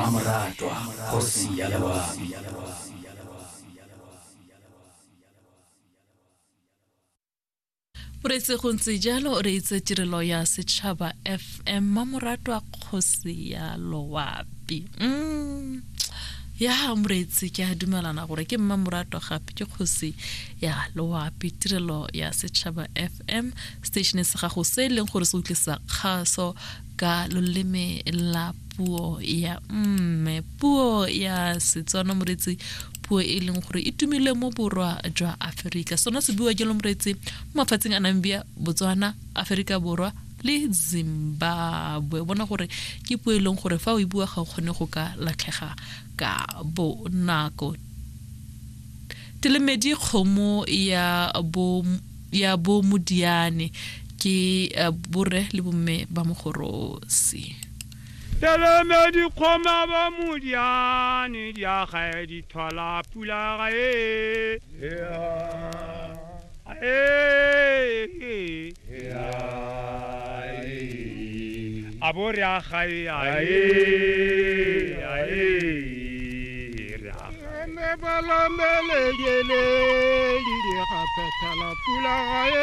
Mmamoratwa kgosi ya loabi. Boretse go ntse jalo re itse tirelo ya Setšhaba FM, Mmamoratwa kgosi ya loapi. Ya moreetsi, ke a dumelana gore ke Mmamoratwa gape ke kgosi ya loapi. Tirelo ya Setšhaba FM, station sa gago se e leng gore se utlwisa kgaso ka loleme la puo ya mme, puo ya Setswana. Moreetsi, puo e leng gore e tumile mo borwa jwa Aforika, sona se bua jalo moreetsi mo mafatsheng a Namibia, Botswana, Aforika Borwa le Zimbabwe. Bona gore ke puo e leng gore fa o e bua ga o kgone go ka latlhega ka bonako. Telemedi kgomo ya bo ya bo modiane ke borre le bomme ba Mogorosi. Telemedi kgoma ba modiane di agae di thola pula gae a bo re agae ae ae re agae.